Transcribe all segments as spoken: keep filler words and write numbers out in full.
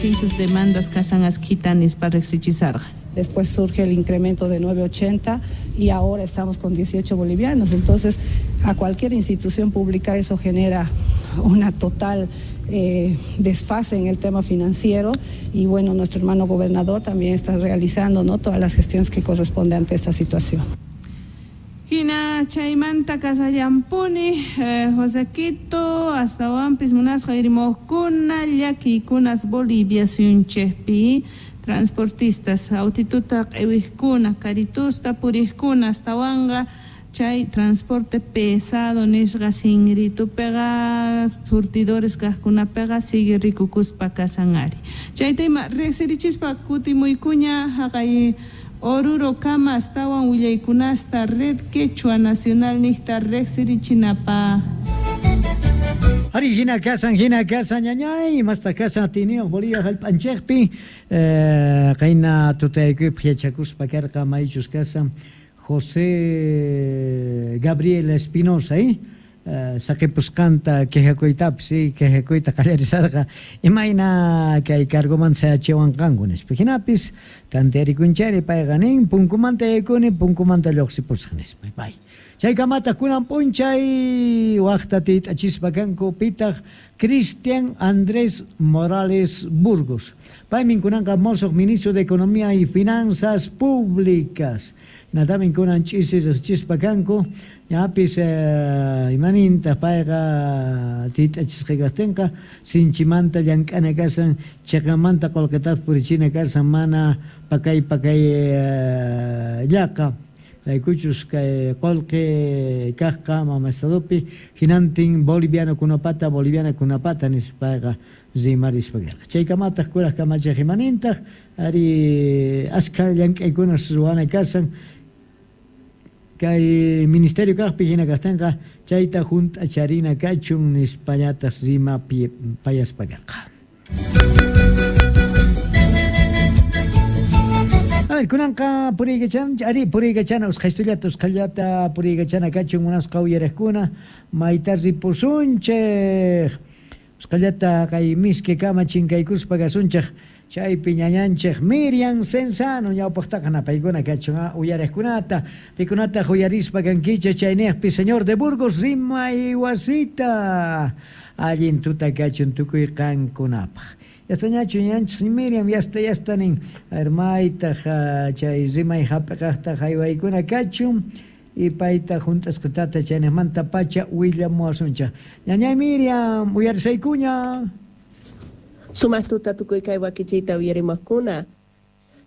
imarajtinchus demandas kasan askhita nispa riqsichisarqa. Después surge el incremento de nueve ochenta y ahora estamos con dieciocho bolivianos. Entonces, a cualquier institución pública eso genera una total eh, desfase en el tema financiero y bueno, nuestro hermano gobernador también está realizando, ¿no?, todas las gestiones que corresponden ante esta situación. Hina chaymanta kasallampuni eh, Josequito astawanpis munasqa irimojkuna llakiykunas Bolivia suyunchikpi transportistas autituta q'iwijkuna karitusta purijkuna astawanqa chay transporte pesado nisqa sinritupiqa surtidores kaqkunapiqa sigue rikukuspa kasan ari. Chayta ima riqsirichispa kutimuykuña haqay Oruro kama astawan willaykunasta Red Quechua Nacional niqta riqsirichinapaq. Ari hina kasan hina kasan ñañay masta kasan atiniyuq Bolivia hallp'anchikpi eh, qayna tutaykuypi yachakuspa karqa maychus kasan José Gabriel Espinosa, eh? Uh, saqipusqanta quejakuytapis eh, quejakuyta qallarisarqa imayna kay cargomanta sayachiwanqanku nispa hinapis tantearikunchari payqa nin punkumanta yaykuni punkumanta lluqsipusaq nispa pay chaykamataq kunan p'unchay waqta tiyt'achispa kanku pitaq Cristian Andrés Morales Burgos paymin kunanqa mosoq ministro de Economía y Finanzas Públicas natamin kunan ch'isi riqsichispa kanku ñapis eh, imaninta payqa tiyt'achisqa kaqtinqa sinchimanta llank'ana kasan chiqanmanta qullqitapas purichina kasan mana pakay pakay eh, llaqa raykuchus kay qullqi kaqqa mama estadopi hinantin boliviano kunapata boliviana kunapata nispayqa rimarispa karqa chaykamataq kuraq kamachiq imanintaq ari askha llank'aykunas ruwana kasan kay ministerio kaqpi hina kaqtinqa chayta hunt'acharina kachun nispallatas rima payaspa karqa. A ver, kunanqa puriykachan, ari puriykachana usqhaystullata usqhayllata puriykachana kachun munasqa uyariqkuna mayta ripusunchik usqhayllata kay miski kama chinkaykuspa kasunchik chaypi ñañanchik Miriam Cenzano ñawpaqtaqa napaykuna kachun uyariqkunata pikunataq uyarispa kankichik chayniqpi señor de Burgos rimay wasita allin tuta kachun tukuy qankunapaq. Yastañachu ñanchik Miriam yasta yasta nin maytaq chay rimay hap'iqaqtaq haywaykuna kachun y payta hunt'asqatata chayniqmanta pacha willamuwasunchik. Ñañay Miriam uyarisaykuña. Sumaq tuta tukuy kay wakichiyta uyarimuqkuna.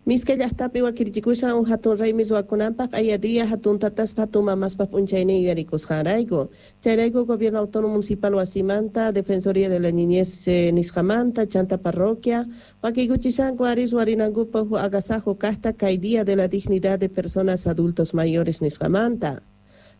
Miska llaqtapi wakirichikushan uj hatun raymi ruwakunanpaq aya día hatun tataspa hatun mamaspa p'unchaynin yuyarikusqanrayku. Chayrayku Gobierno Autónomo Municipal wasimanta, Defensoría de la Niñez eh, nisqamanta, chanta parroquia, wakiykuchishanku ari ruwarinankupaq uj agasajo kaqta kay Día de la Dignidad de Personas Adultos Mayores nisqamanta.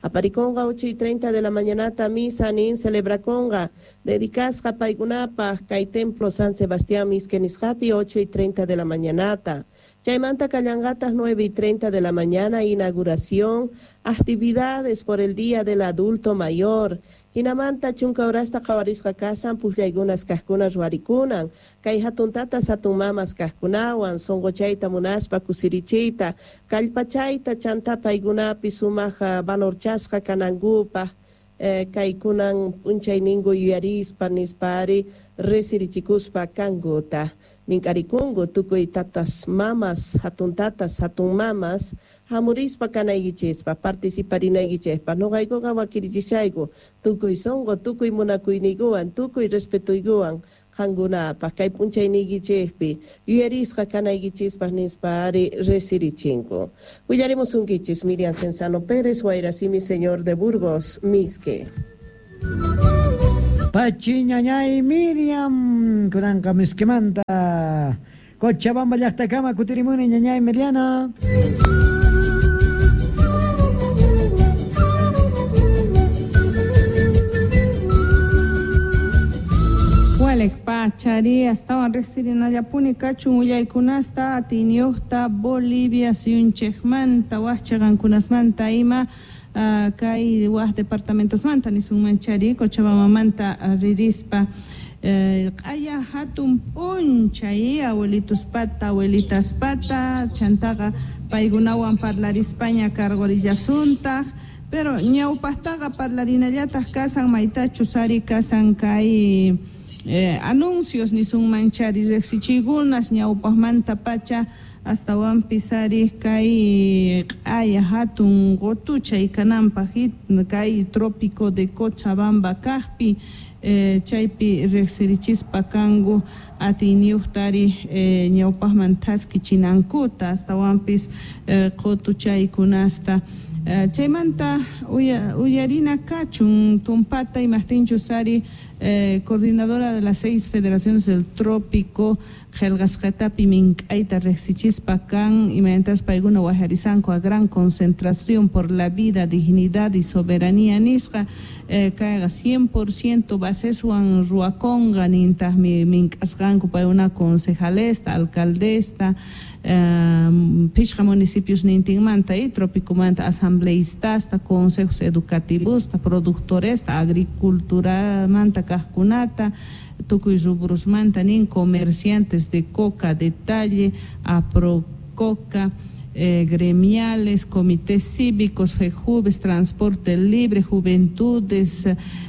Apariconga ocho y treinta de la mañanata misa nin celebraconga dedicasqa paykunapaq kay templo San Sebastián Miske nisqapi ocho y treinta de la mañanata. Chaymanta kallanqataq nueve y treinta de la mañana inauguración actividades por el Día del Adulto Mayor. Hinamanta chunka horasta qhawarisqa kasan puqllaykunas kaqkunas ruwarikunan kay hatun tatas hatun mamas kaqkunawan sunquchayta munaspa kusirichiyta kallpachayta chanta paykunapi sumaq valorchasqa kanankupaq eh, kaykunan p'unchayninku yuyarispa nispa ari risirichikuspa kankuta. Mink'arikunku tukuy tatas mamas hatun tatas hatun mamas hamurispa kanaykichispa participarinaykichikpa nuqaykuqa wakirichishayku tukuy sunqu tukuy munakuyniykuwan tukuy respetuykuwan qankunapaq kay p'unchayniykichikpi yuyarisqa kanaykichispaq nispa ari risirichinku. Willarimusunkichis Miriam Cenzano Pérez Wayrasimi señor de Burgos Miske. Pachi ñañay Miriam kunanqa miskimanta Cochabamba llaqtakama kutirimuni ñañay Miriana. Walek pachari astawan riqsirinallapuni kachun willaykunasta atiyniyuqta Bolivia suyunchikmanta waqcha qankunasmanta ima uh, kay waq departamentosmanta nisunmanchari Cochabambamanta ririspa. Q'aya hatun p'unchay abuelituspata abuelitaspata chantaqa paykunawan parlarispaña cargorillasuntaq pero ñawpaqtaqa parlarinallataq kasan maytachus ari kasan kay eh, anuncios nisunmanchari riqsichiykunas ñawpaqmanta pacha astawanpis ari kay q'aya hatun qutuchay kananpaq kay trópico de Cochabamba kaqpi eh, chaypi riqsirichispa kanku atiyniyuqtari eh, ñawpaqman thaskichinankuta astawanpis eh, qutuchaykunasta Uh, chaymanta uya, uyarina kachun tumpata imaqtinchus ari eh, coordinadora de las seis federaciones del trópico qillqasqatapi mink'ayta riqsichispa kan imaynatachus paykuna wajarisanku a gran concentración por la vida, dignidad y soberanía nisqa eh, kayqa cien por ciento baseswan ruwakunqa nintaqmi mink'asqanku paykuna concejalesta, alcaldesta eh, phishqa municipios nintinmanta y tropicomanta asambleístasta, consejos educativos, productores, agriculturamanta kaqkunata, tukuy rubrusmanta nin comerciantes de coca, detalle, aprococa, eh, gremiales, comités cívicos, FEJUVES, transporte libre, juventudes,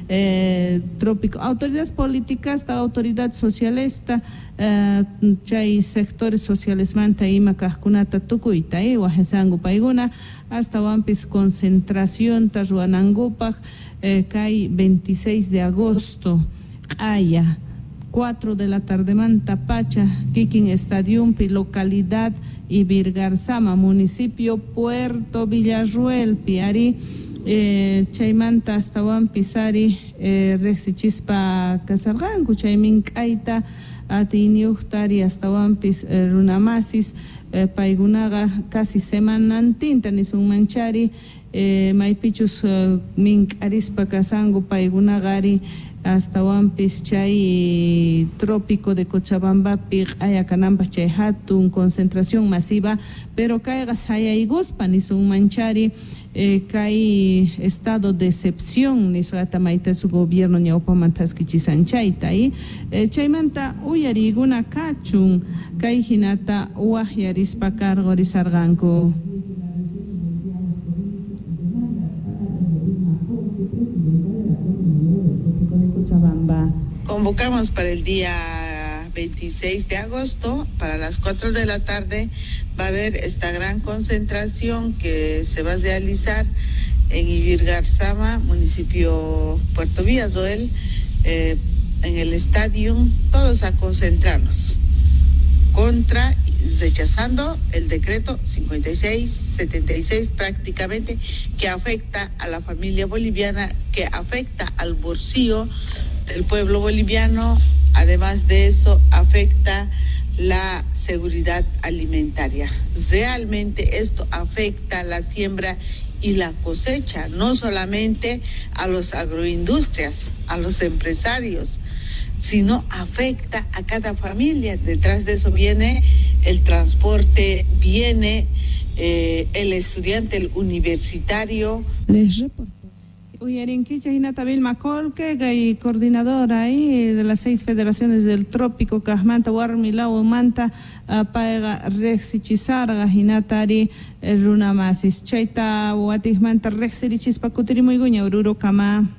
eh, trópico, autoridades políticas, autoridad socialista, eh, chay sectores sociales manta ima kaqkunata tukuyta eh, wajasanku paykuna astawanpis concentración ta ruwanankupaq eh, kay veintiséis de agosto q'aya cuatro de la tarde manta pacha kikin Estadiumpi localidad Ivirgarzama municipio Puerto Villarruelpi ari eh, chaymanta astawanpis ari eh, riqsichispa kasarqanku chay mink'ayta atiyniyuqtari astawanpis eh, runamasis eh, paykunaqa casi semanantinta nisunmanchari eh, maypichus eh, mink'arispa kasanku paykunaqa ari astawanpis chay trópico de Cochabambapi q'aya kananpaq chay hatun concentración masiva pero kayqa sayaykuspa nisunmanchari eh, kay estado de excepción nisqata mayta su gobierno ñawpaman thaskichisan chayta y eh, chaymanta uyariykuna kachun kay hinata waqyarispa cargorisarqanku. Convocamos para el día veintiséis de agosto, para las cuatro de la tarde, va a haber esta gran concentración que se va a realizar en Ivirgarzama, municipio Puerto Villarroel, eh, en el estadio, todos a concentrarnos contra, rechazando el decreto cincuenta y seis setenta y seis prácticamente, que afecta a la familia boliviana, que afecta al bolsillo del pueblo boliviano, además de eso afecta la seguridad alimentaria. Realmente esto afecta la siembra y la cosecha, no solamente a los agroindustrias, a los empresarios, sino afecta a cada familia. Detrás de eso viene el transporte, viene eh, el estudiante, el universitario. Les reporto. Uyarinkicha hinata Vilma Colque, kay coordinadora ahí de las seis federaciones del trópico kaqmanta warmilaw manta payqa riqsichisarqa hinatari runamasis chayta watiqmanta riqsirichispa kutirimuykuña Orurokama.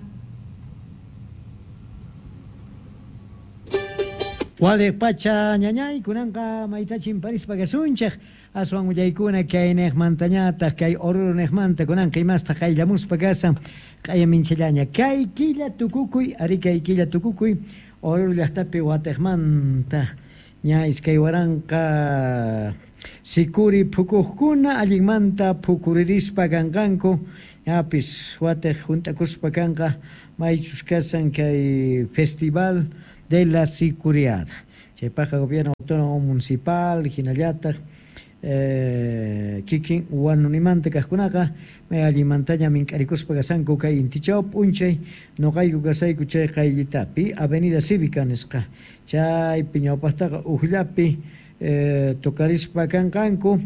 Waliq pacha ñañay kunanqa maytachin parispa kasunchik aswan willaykuna kay niqmantañataq kay Oruro niqmanta kunanqa imastaq qayllamuspa kasan q'aya minchallaña kay killa tukukuy ari kay killa tukukuy Oruro llaqtapi watiqmanta ña iskay waranqa sikuri phukuqkuna allinmanta phukuririspa kanqanku ñapis watiq hunt'akuspa kanqa maychus kasan kay festival de la Sicuriada. Chaypaqqa gobierno autónomo municipal hinallataq eh, kikin wanunimanta kaqkunaqa may allimantaña mink'arikuspa kasanku kay intichaw p'unchay nuqayku kasayku chay qayllitapi Avenida Cívica nisqa chaypi ñawpaqtaqa uqllapi eh, tocarispa kanqanku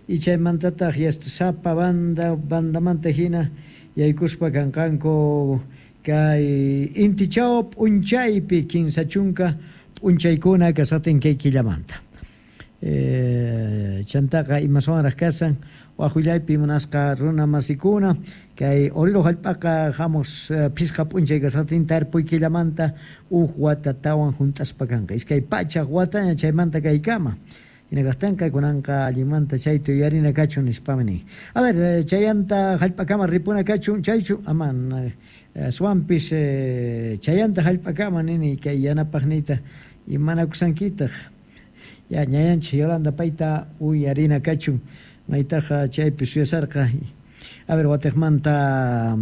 y chaymantataq yasta sapa banda bandamanta hina yaykuspa kanqanku Kay intichaw p'unchaypi kinsa chunka p'unchaykuna kasatin kay killamanta. Eh, chantaqa imaswanraq kasan wajullaypi munasqa runa masikuna kay Oruro hallp'aqa hamuq phisqa p'unchay kasatin tarpuy killamanta uj watatawan junt'aspa kanqa iskay pachaq wataña chaymanta kaykama. Hinakaqtinqa kunanqa allinmanta chayta yuyarina kachun nispami nin. A ver, chayanta hallp'akama ripuna kachun chaychu aman aswanpis chayanta hallp'akama nini kay yanapaqniyta imanakusankitaq. Ya ñayanchik Yolanda payta uyarina kachun maytaqa chaypi suyasarqa. A ver, watiqmanta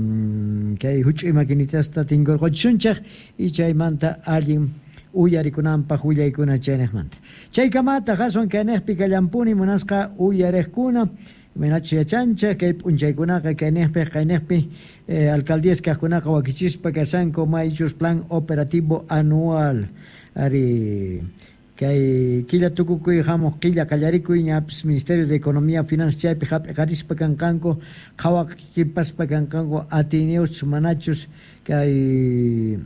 kay huch'uy maquinitasta tinkurquchisunchik y chaymanta allin uyarikunanpaq willaykuna chayniqmanta. Chaykamataq aswan kayniqpi kallampuni munasqa uyariqkuna imaynachus yachanchik kay p'unchaykunaqa kayniqpi qayniqpi eh, alcaldías kaqkunaqa wakichispa kashanku maychus plan operativo anual ari kay killa tukukuy hamuq killa qallarikuy ñapis Ministerio de Economía Finanzas chaypi hap'iqarispa kanqanku qhawaqkipaspa kanqanku atiyniyochus manachus kay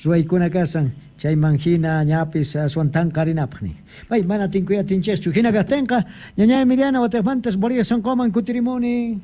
ruwaykuna kasan chayman hina ñapis aswan tanqarinapaq nin. Pay mana tinkuy atinchikchu hina kaqtinqa ñañay Emiliana watiqmantas Bolivia sonqoman kutirimuni.